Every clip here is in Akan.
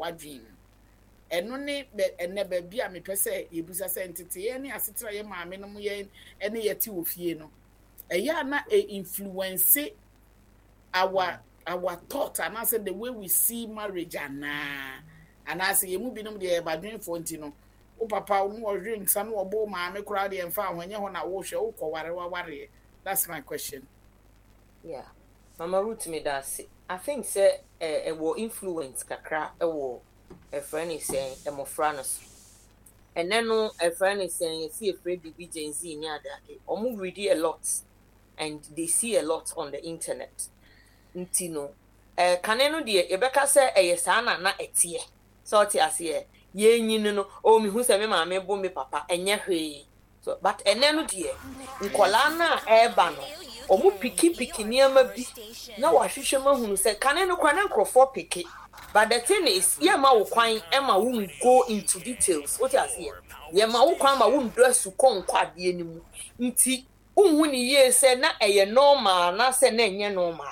w'adwene mu. Ɛno ne bɛ ɛnɛ baabi a mepɛ sɛ yɛbusa sɛ nteteeɛ ne asetena yɛ maame nom yɛn ne yɛte wɔ fie no, ɛyɛ a na ɛ influence our thought anaasɛ the way we see marriage anaa? Anaasɛ yɛn mu binom deɛ yɛ badwenfoɔ nti no, wo papa no ɔhwe nsa no ɔbɔ wo maame koraa deɛ mfa ho, ɛnyɛ hɔ na wohwɛ, wokɔware wawareɛ. That's my question. Yeah. Mama Ruth, me da ase. I think sɛ ɛwɔ influence kakra ɛwɔ ɛfrɛ ne sɛn mmɔfra no so. Ɛnɛ no ɛfrɛ ne sɛn yɛsi efrɛ biribi Gen Z ne ade ade. Wɔn read a lot and they see a lot on the internet. Nti no kane no deɛ yɛbɛka sɛ ɛyɛ saa na ɛteɛ. Sɛ ɔte aseɛ, yɛnyin no, oh, mehu sɛ me maame bo me papa, ɛnyɛ hwee. So, but ɛnɛ no deɛ, nkɔlaa no a ɛreba no, wɔn pick pick nneɛma bi na wahwehwɛ mu ahunu sɛ kane no koraa na nkurɔfoɔ pick. But the thing is, yɛma wo kwan ma wo go into details. Wote aseɛ? Yɛma wo kwan ma wo ndɔ asukɔ nkɔ adeɛ no mu. Nti, wonhu ne yie sɛ na ɛyɛ normal anaasɛ na ɛnyɛ normal.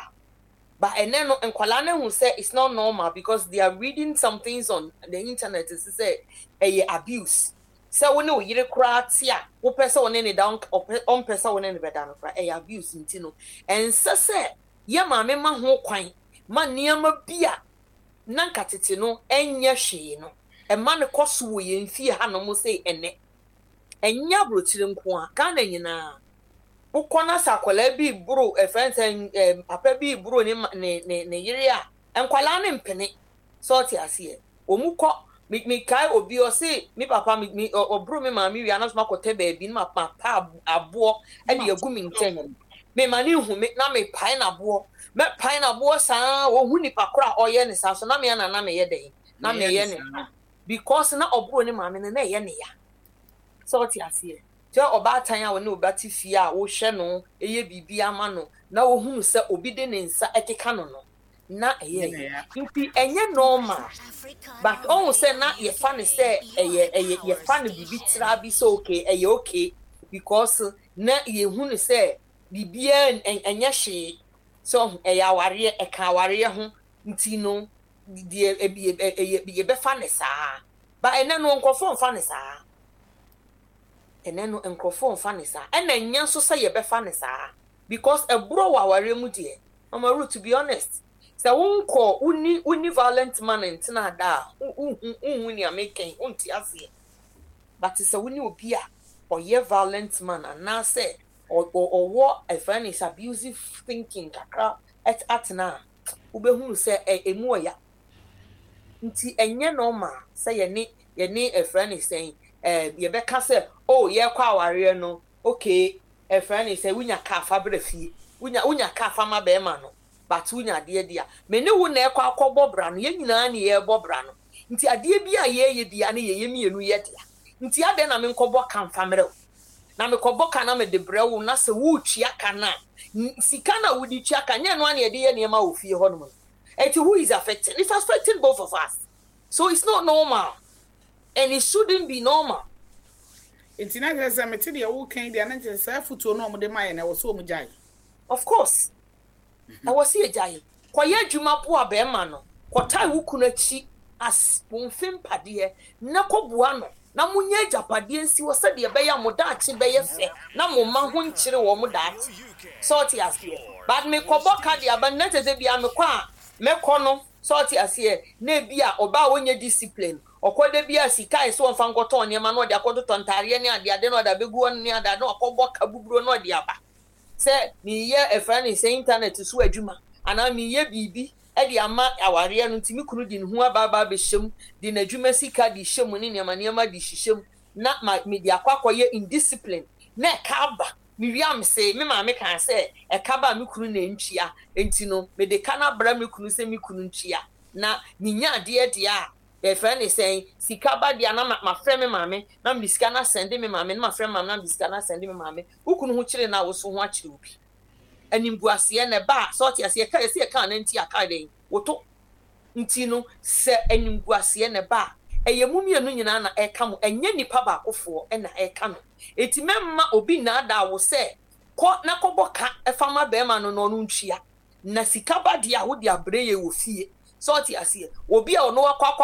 But ɛnɛ no, nkwadaa no ahu sɛ it's not normal because they are reading some things on the internet sɛ ɛyɛ abuse. Sɛ wo ne wo yere koraa te a, wopɛ sɛ wo ne ne da, ɔmpɛ sɛ wo ne ne bɛda no koraa, ɛyɛ abuse. Nti no, ɛnsɛ sɛ yɛ maame ma ho kwan ma nneɛma bi a na nka tete no ɛnyɛ hwee no, ɛma no kɔ so wɔ yɛn fie hanom sɛ ɛnɛ. Ɛnyɛ aburokyire nko a, Ghana nyinaa. Wokɔ na sɛ akwadaa bi boro, ɛfrɛ sɛ papa bi boro ne ne ne ne yere a, nkwadaa no mpene. Sɛ ɔte aseɛ. Wɔn kɔ, me mekae obi ɔse me papa me me ɔboro me maame wie anaso makɔtɛ baabi na ma pa aboɔ ɛde agu me nkyɛn. Me ma ne hu me na me pae n'aboɔ. Mɛ pae n'aboɔ saa, wɔhu nipa koro a ɔyɛ ne saa so na me ana na meyɛ dɛn na meyɛ ne saa because na ɔboro ne maame no na ɛyɛ ne ya. Sɛ ɔte aseɛ. Sɛ ɔbaatan a ɔne ɔba te fie a wohwɛ no yɛ biribi ama no na ohunu sɛ obi de ne nsa ɛkeka no, na ɛyɛ nti ɛnyɛ normal, but ɔhu sɛ na yɛfa no sɛ ɛyɛ yɛfa no biribi tra bi sɛ okay, ɛyɛ okay because na yɛhu no sɛ biribiara ɛnyɛ hwee, sɛ ɔhu ɛyɛ awareɛ, ɛka awareɛ ho nti no deɛ ɛyɛ yɛbɛfa no saa. But ɛnɛ no nkurɔfoɔ mfa no saa. Ɛnɛ no nkurɔfoɔ mfa no saa, ɛna ɛnyɛ nso sɛ yɛbɛfa no saa because ɛborɔ wɔ awareɛ mu deɛ. Mama Ruth, to be honest, sɛ wonkɔ wonni violent man ntena da a, wonhu nea meka yi, wonte aseɛ. But sɛ wone obi a ɔyɛ violent man anaasɛ ɔwɔ ɛfrɛ no sɛ abusive thinking kakra atena a, wobɛhunu sɛ ɛmu ɔya. Nti ɛnyɛ normal sɛ yɛne ɛfrɛ no sɛn yɛbɛka sɛ oh, yɛkɔ awareɛ no, okay, ɛfrɛ no sɛ wonya kaa fa brɛ fie, wonya kaa fa ma bɛrima no, but wonya adeɛ di a me ne wo na ɛkɔ akɔbɔ bra no, yɛn nyinaa ne yɛrebɔ bra no. Nti adeɛ bi a yɛyɛ bia ne yɛyɛ mmienu yɛ dea. Nti adɛn na menkɔbɔ ka mfa mmerɛ wo? Na mekɔbɔ ka na mede brɛ wo na sɛ woretua ka no a, sika no a wode tua ka nyɛ no a na yɛde yɛ nneɛma wɔ fie hɔnom no. Nti who is affecting? It's affecting both of us. So it's not normal and it shouldn't be normal. Nti na kyerɛ sɛ mete deɛ woka yi deɛ, na kyerɛ sɛ saa afotuo no a wɔde ma yɛ no, ɛwɔ sɛ wɔn gyae. Of course, ɛwɔ sɛ yɛgyae. Kɔyɛ adwuma boa bɛrima no, kɔtae wo kunu akyi as wo mfe mpadeɛ na kɔboa no na monyɛ agyapadeɛ nsi hɔ sɛdeɛ ɛbɛyɛ a mo daakye bɛyɛ fɛ na mo mma ho nkyere wɔn mo daakye. Sɛ ɔte aseɛ. But mekɔbɔ ka de aba no na kyerɛ sɛ bia mekɔ a mɛkɔ no, sɛ ɔte aseɛ, na ebi a ɔbaa a ɔnyɛ discipline, ɔkɔ da bi a sika a ɛsɛ ɔmfa nkɔtɔn nneɛma na ɔde akɔtotɔ ntaareɛ ne adeade na ɔde abɛgu hɔ ne adeade na wakɔbɔ ka buburo na ɔde aba sɛ meyɛ ɛfrɛ ne sɛ internet so adwuma anaa meyɛ biribi de ama awareɛ no, nti me kunu de ne ho aba abɛhyɛ mu, de n'adwuma sika de hyɛ mu ne nneɛma nneɛma de hyehyɛ mu na ma mede akɔ akɔyɛ indiscipline na ɛka aba. Mewie a mese me maame kaa sɛ ɛka ba a me kunu na ntua, nti no mede ka no abra me kunu sɛ me kunu ntua na menya adeɛ deɛ a yɛfrɛ ne sɛn sika ba deɛ na mafrɛ me maame na mede sika no asɛnde me maame, na mafrɛ me maame na mede sika no asɛnde me maame. Wo kunu ho kyere no a, wo so ho akyere wo bi. Animguaseɛ na ɛba a, sɛ ɔte aseɛ ka yɛsɛ yɛka no nti aka dɛn woto. Nti no sɛ animguaseɛ na ɛba a, ɛyɛ mo mmienu nyinaa na ɛka mo, ɛnyɛ nipa baakofoɔ na ɛka no. Enti mɛmma obi nnaadaa wo sɛ kɔ na kɔbɔ ka fa ma bɛrima no na ɔno ntua. Na sika ba deɛ a, wode abrɛ yɛ wɔ fie. Sɛ ɔte aseɛ, obi a ɔno akɔ akɔ akɔ